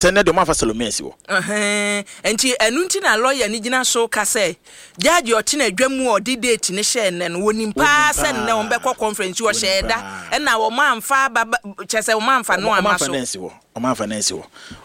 Sɛ nnɛ deɛ ɔmo amfa Salome ansi hɔ. Ɛhɛn, nti ɛno nti na lawyer no gyina so ka sɛ judge a ɔte n'adwa mu a ɔde date no hyɛɛ nnɛ no, wɔnim paa sɛ nnɛ wɔn bɛkɔ conference nti ɔhyɛɛ da ɛna wɔn amfa aba ba kyerɛ sɛ wɔn amfa no Ɔmo amma amfa so. no ansi hɔ. Ɔmo amfa no ansi hɔ.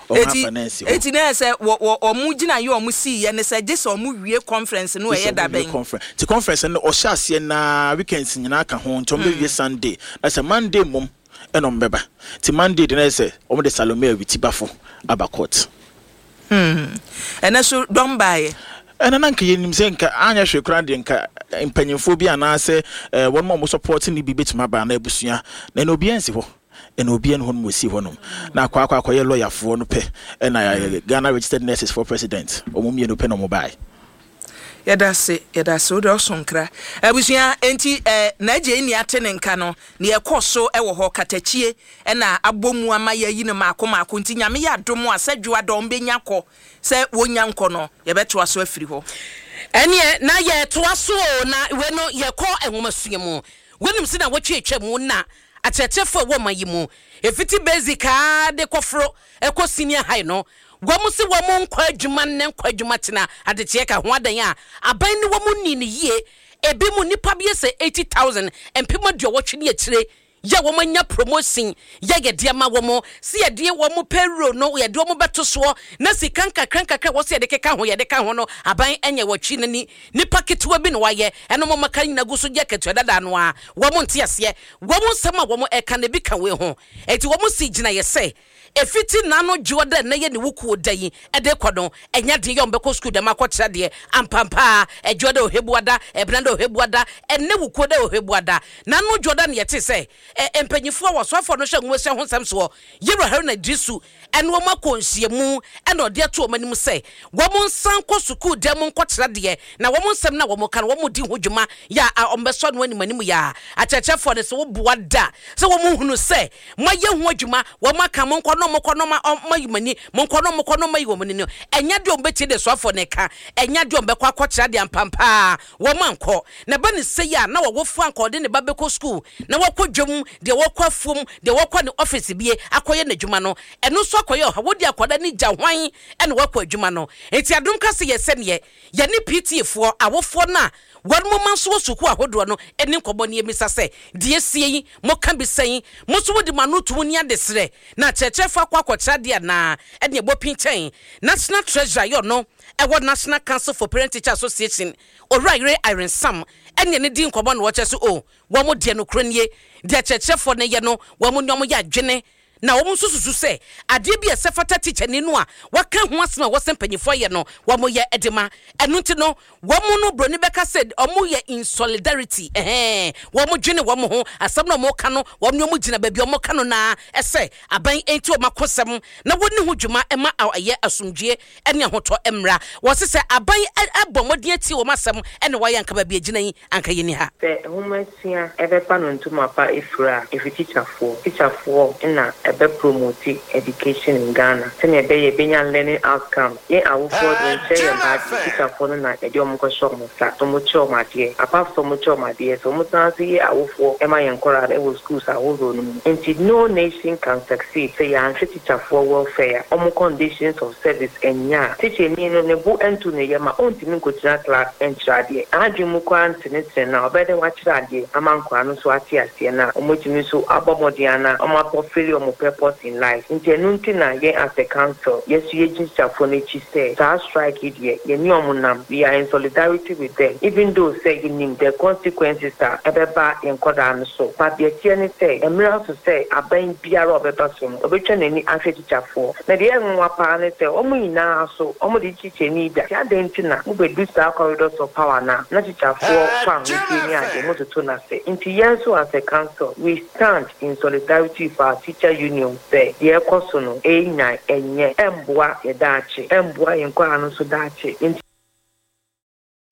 Ɔmo Eti amfa no ansi hɔ. eti na ɛyɛ sɛ wɔ wɔ wɔn gyinaeɛ a wɔn siiɛ ne sɛ gye sɛ wɔn wie conference no Gye sɛ ɛyɛ da ɔmo wie bɛn? conference. Nti conference no ɔhyɛ aseɛ naa weekends nyinaa ka ho nti ɔmo bɛwie Sunday. Na sɛ Monday mmom ɛna ɔmo bɛba. Nti Monday de na ayɛ sɛ ɔmo de Salome Awitibafo aba court. Hmm. Ɛnɛ so dɔm baeɛ. Ɛna na nka yɛnim sɛ nka anyɛ hwee koraa deɛ nka mpanyinfoɔ bi anaasɛ eh, wɔn a wɔn support no bi bɛtumi aba anaa abusua. Na ɛna obiara nsi hɔ. Ɛna obiara nni hɔ nom wɔsi hɔ nom. Na akɔ akɔ akɔyɛ lɔyafoɔ no pɛ ɛna Ghana Registered Nurses foɔ president wɔn mmienu pɛ na wɔn baeɛ. Yɛdase yɛdase wode ɔso nkra. Abusua enti eh N'agya nni ate ne nka no nea ɛkɔ so wɔ hɔ katakyie na abɔ mu ama yɛayi no maako maako nti Nyame yɛ adom a sɛ dwoa dɔ ɔmbɛnya kɔ sɛ wɔnya nkɔ no yɛbɛtoa so afiri hɔ. Ɛneɛ na yɛtoa so oo na wei no yɛkɔ nwomasua mu. Wonim se nawɔtwe atwa mu na akyerɛkyerɛfoɔ a ɛwɔ ɔman yi mu ɛfiti basic ara de kɔforo kɔ senior high no Wɔn se wɔn nkɔ adwuma nnɛ nkɔ adwuma kyena, adekyeɛ ka ho adan a aban ne wɔn nnii no yie, ebi mu nnipa beyɛ sɛ 80,000, mpem aduɔwɔtwe ne akyire, yɛ wɔn anya promotion yɛ yɛde ama wɔn, se yɛde wɔn payroll no yɛde wɔn bɛto soɔ na sika nkakra nkakra a ɛwɔ sɛ yɛde keka ho yɛde ka ho no aban nyɛ wɔtwe n'ani, nnipa ketewa bi na wɔayɛ ɛna wɔn aka nyina gu so gye akatua dada no ara, wɔn nte aseɛ, wɔn nsɛm a wɔn ɛka no ebi ka wei ho, enti wɔn si gyinaeɛ sɛ. Efitsi n'ano dwoɔ dɛ nnɛ yɛ ne wo kuo da yi de rekɔ no, ɛnyɛ den yɛ ɔmbɛkɔ sukuu dɛm akɔkyerɛ adeɛ. Ampampaa, Ɛdwoɔ dɛ Ohebuada, Ɛbena dɛ Ohebuada, ɛnnɛ wo kuo dɛ Ohebuada. N'ano dwoɔ da no yɛtee sɛ ɛ mpanyinfoɔ a wɔsoafoɔ no hwɛ nwomasua ho nsɛm soɔ, Yewura Haruna Iddrisu ɛne wɔn akɔ nhyiamu ɛna ɔde ato wɔn anim sɛ wɔn nsan nkɔ sukuu dan mu nkɔkyerɛ adeɛ na wɔn nsɛm no a wɔka no wɔn di ho dwuma yɛ a wɔbɛsɔ ano anim anim yɛ a akyerɛkyerɛfoɔ no sɛ woboa da sɛ wɔn hunu sɛ Moayɛ ho adwuma, wɔaka, monkɔ na wɔkɔ na wɔayi mo ani, monkɔ na wɔkɔ na wɔayi wɔn ani no, ɛnyɛ adeɛ a wɔbɛtie deɛ soafoɔ no reka, ɛnyɛ adeɛ a wɔbɛkɔ akɔkyerɛ adeɛ ampampaa, wɔankɔ. Na ɛba no sei a, na ɔwofoɔ anka ɔde ne ba bɛkɔ sukuu, na wakɔ dwam, deɛ ɔkɔ afuom, deɛ ɔkɔ ne ɔfese bie akɔyɛ n'adwuma no, ɛno nso akɔyɛ ɔhaw. Wode akwadaa no gya hwan na wakɔ adwuma no? Enti adom ka sɛ yɛ sɛdeɛ yɛne PTA foɔ, awofoɔ no a wɔn mma nso wɔ sukuu ahodoɔ no nni nkɔmmɔ na yɛmmisa sɛ, Deɛ asie yi, moka bi sɛn? Mo nso mode mo ano to mu ne adesrɛ, na akyerɛkyerɛfoɔ akɔ akɔkyerɛ adeɛ anaa? Ɛdeɛ ɛbɔ pinkyɛn. National Treasurer yɛ ɔno ɛwɔ National Council for Parent Teacher Association, Owura Yere Irene Sam, ɛne yɛne dii nkɔmmɔ na ɔkyerɛ sɛ, Oh, wɔn deɛ nokorɛ nie, deɛ akyerɛkyerɛfoɔ no yɛ no, wɔn ne wɔn yɛ adwene. Na wɔn nso susu sɛ adeɛ bi a ɛsɛ fata tikyani no a waka ho asɛm a ɛwɔ sɛ mpanimfoɔ yɛ no, wɔyɛ de ma. Ɛno nti no, wɔn no, buroni bɛka sɛ wɔyɛ in solidarity, ɛhɛɛ, wɔdwene wɔn ho, asɛm no a wɔka no, wɔn ne wɔn gyina baabi a wɔka no no ara sɛ aban nti wɔn akosɛm na wɔnni ho dwuma ma ɛyɛ asomdwoeɛ ne ahotɔ mmra. Wɔse sɛ aban bɔ mmɔden atie wɔn asɛm na wɔayɛ anka baabi a ɛgyina yi anka yɛnni ha. Sɛ nwomasua ɛbɛba no ntoma pa efiri a, efi tikyafoɔ. Tikyafoɔ na ɛbɛ promote education in Ghana sɛnea ɛbɛyɛ yɛbɛnya learning outcomes. Yɛn awofoɔ deɛ yɛnkyerɛ yɛn ba adeɛ, tikyafoɔ no na yɛde wɔn kɔhyɛ wɔn nsa na wɔkyerɛ wɔn adeɛ. Apart sɛ wɔkyerɛ wɔn adeɛ, sɛ wɔsan nso yɛ awofoɔ ma yɛn nkwadaa no wɔ schools ahodoɔ no mu. Nti no nation can succeed sɛ yɛanhwɛ tikyafoɔ welfare, wɔn conditions of service nnyɛ a, tikyani no ne bo ntu ne yam a, ɔntumi nkɔgyina class nkyerɛ adeɛ. N'adwene mu koraa ntenetene no a, ɔbɛyɛ dɛn wakyerɛ adeɛ ama nkwadaa no nso ate aseɛ na wɔatumi nso abɔ mmɔden ana wɔafulfilli wɔn purpose in life. Nti ɛno nti na yɛn as a council, yɛn nso yɛgyina tikyafoɔ no akyi sɛ saa strike yi deɛ, yɛne wɔn nam, we are in solidarity with them even though sɛ yɛnim the consequences a ɛbɛba yɛn nkwadaa no so, but deɛ ɛteɛ ne sɛ, mmerɛ aso sɛ aban biara a ɔbɛba so no, ɔbɛtwa n'ani ahwɛ tikyafoɔ. Na deɛ ɛyɛ nwonwa paa ne sɛ wɔn nyinaa so wɔde tikyani da. Nti adɛn nti na mobɛdu saa corridors of power no a na tikyafoɔ kɔ ahotie ne adeɛ mototo no ase. Nti yɛn nso as a council we stand in solidarity with our teacher union sɛ deɛ ɛrekɔ so no ɛnyan, ɛnyɛ, ɛmboa yɛn daakye, ɛmboa yɛn nkwadaa no nso daakye. Nti.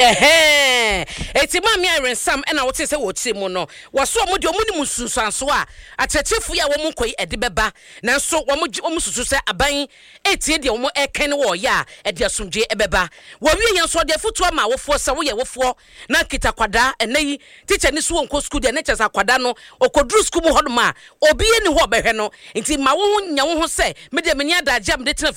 Ɛhɛɛ, enti Maame Irene Sam na wotee sɛ wɔrekyerɛ mu no, wɔse wɔn deɛ wɔnim nsunsuansoɔ a akyerɛkyerɛfoɔ yi a wɔn nkɔ yi ɛde bɛba, nanso wɔn gye wɔn susu sɛ aban retie deɛ wɔn reka ne wɔreyɛ a ɛde asomdwoeɛ ɛbɛba. Wɔwie yɛn nso wɔde afotuo ama awofoɔ sɛ woyɛ wofoɔ na nkita akwadaa ɛnnɛ yi tikya ni so wɔnkɔ sukuu deɛ ne kyerɛ sɛ akwadaa no ɔkɔduru sukuu mu hɔnom a obiara nni hɔ a ɔbɛhwɛ no nti ma wo ho nya wo ho sɛ me deɛ menni adagyeɛ a mede tena fie.